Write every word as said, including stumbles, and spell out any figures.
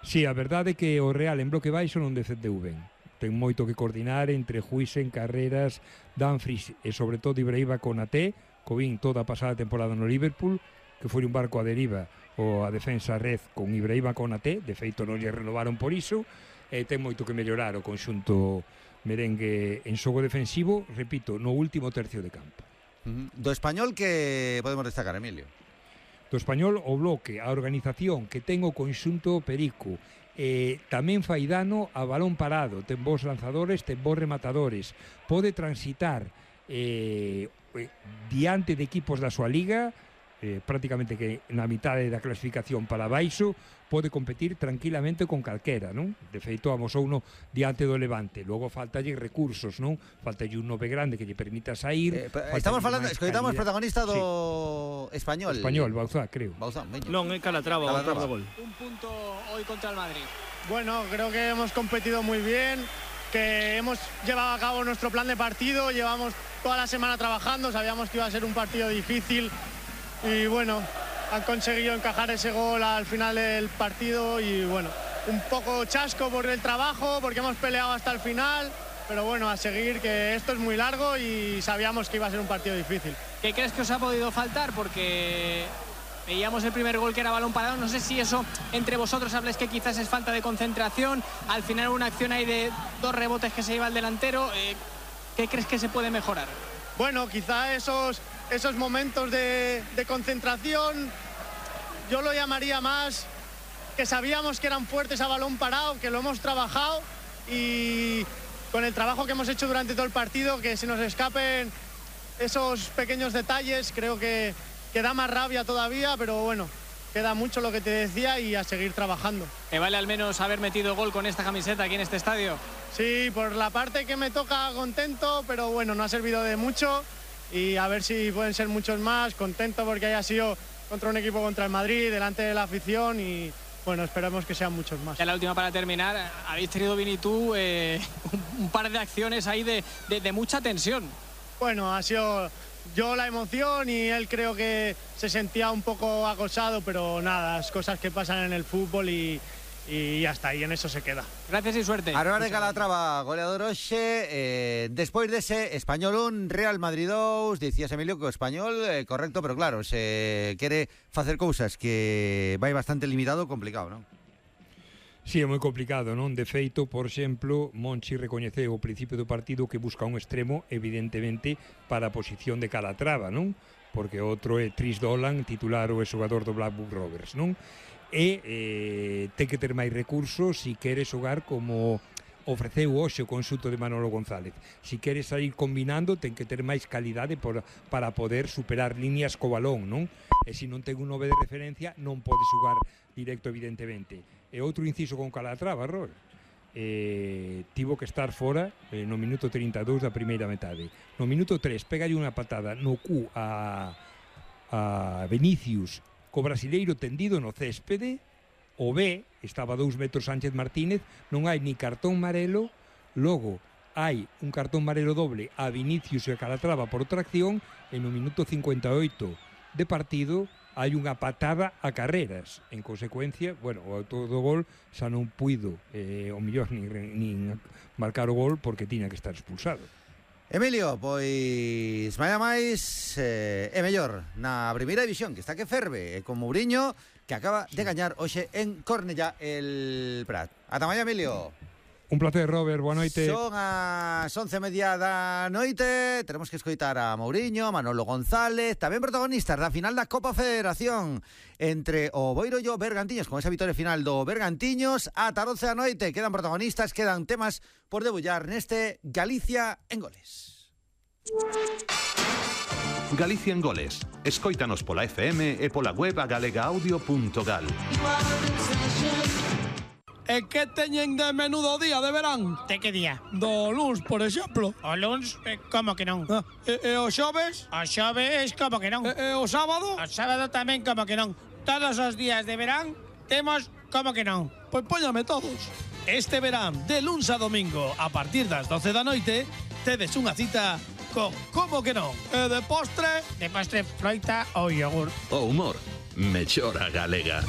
Sí, a verdade é que o Real en bloque baixo non defendeu ben. Ten moito que coordinar entre Huijsen, Carreras, Dumfries e sobre todo Ibrahima Konaté, que vin toda a pasada temporada no Liverpool, que foi un barco a deriva ou a defensa a red con Ibrahima Konaté, de feito non lle renovaron por iso, e ten moito que mellorar o conxunto merengue en xogo defensivo, repito, no último tercio de campo. Uh-huh. Do Español que podemos destacar, Emilio? Do Español o bloque, a organización que ten o conxunto Perico, eh, tamén fai dano a balón parado, ten bons lanzadores, ten bons rematadores, pode transitar eh, eh, diante de equipos da súa liga, eh, prácticamente que na mitade da clasificación para baixo, pode competir tranquilamente con calquera, non? De feito, amosou uno diante do Levante. Logo faltalle recursos, non? Faltalle un nove grande que lle permita sair. Eh, estamos falando, escoitamos protagonista do sí. Español. Español, Bauzá, creo. Bauzá, non, é Calatrava, Calatrava. gol. Un punto hoy contra el Madrid. Bueno, creo que hemos competido muy bien, que hemos llevado a cabo nuestro plan de partido, llevamos toda la semana trabajando, sabíamos que iba a ser un partido difícil y bueno, han conseguido encajar ese gol al final del partido y bueno, un poco chasco por el trabajo, porque hemos peleado hasta el final, pero bueno, a seguir, que esto es muy largo y sabíamos que iba a ser un partido difícil. ¿Qué crees que os ha podido faltar? Porque veíamos el primer gol que era balón parado, no sé si eso entre vosotros habléis que quizás es falta de concentración, al final una acción ahí de dos rebotes que se lleva el delantero, eh, ¿qué crees que se puede mejorar? Bueno, quizá esos, esos momentos de, de concentración, yo lo llamaría más que sabíamos que eran fuertes a balón parado, que lo hemos trabajado y con el trabajo que hemos hecho durante todo el partido, que se nos escapen esos pequeños detalles, creo que, que da más rabia todavía, pero bueno, queda mucho lo que te decía y a seguir trabajando. ¿Te vale al menos haber metido gol con esta camiseta aquí en este estadio? Sí, por la parte que me toca contento, pero bueno, no ha servido de mucho y a ver si pueden ser muchos más, contento porque haya sido contra un equipo contra el Madrid, delante de la afición y bueno, esperamos que sean muchos más. Ya la última para terminar, habéis tenido, Vini, tú eh, un, un par de acciones ahí de, de, de mucha tensión. Bueno, ha sido yo la emoción y él creo que se sentía un poco acosado, pero nada, las cosas que pasan en el fútbol y, y ya está, y en eso se queda. Gracias y suerte. Ahora de Calatrava, goleador hoxe, eh, despois dese Español un, Real Madrid dos, dicías, Emilio, que o Español, eh, correcto, pero claro, se quere facer cousas que vai bastante limitado, complicado, non? Sí, é moi complicado, non? De feito, por exemplo, Monchi recoñeceu ao principio do partido que busca un extremo, evidentemente, para a posición de Calatrava, non? Porque outro é Tris Dolan, titular ou é xogador do Blackburn Rovers, non? E eh, ten que ter máis recursos se quere xogar como ofreceu hoxe o conxunto de Manolo González. Se quere sair combinando, ten que ter máis calidade por, para poder superar líneas co balón, non? E se non ten un nove de referencia, non pode xogar directo, evidentemente. E outro inciso con Calatrava, Rol, eh, tivo que estar fora eh, no minuto trinta e dous da primeira metade. No minuto tres, pegalle unha patada no cu a, a Vinicius, co brasileiro tendido no céspede. O B, estaba a dous metros Sánchez Martínez, non hai ni cartón amarelo, logo hai un cartón amarelo doble a Vinicius e a Calatrava por outra acción, e no minuto cincuenta e oito de partido hai unha patada a Carreras. En consecuencia, bueno, o autor do gol xa non puido eh, o mellor nin, nin marcar o gol porque tiña que estar expulsado. Emilio, pois mañá máis eh, é mellor na primeira división, que está que ferve, e con Mourinho, que acaba de gañar hoxe en Cornellá el Prat. Ata mañá, Emilio. Un placer, Robert, boa noite. Son as once e media da noite. Tenemos que escoitar a Mourinho, Manolo González, tamén protagonistas da final da Copa Federación entre o Boiro e o Bergantiños, con esa vitoria final do Bergantiños. Ata doce da noite quedan protagonistas, quedan temas por debullar neste Galicia en Goles. Galicia en Goles. Escóitanos pola F M e pola web a galega audio punto gal. E que teñen de menudo día de verán? De que día? Do luns, por exemplo. O luns? Eh, como que non? Ah, e, e o xoves? O xoves, como que non? E, e o sábado? O sábado tamén, como que non? Todos os días de verán temos como que non? Pois póñame todos. Este verán, de luns a domingo, a partir das doce da noite, tedes unha cita con como que non? E de postre? De postre, froita ou yogur. O humor, mellora galega.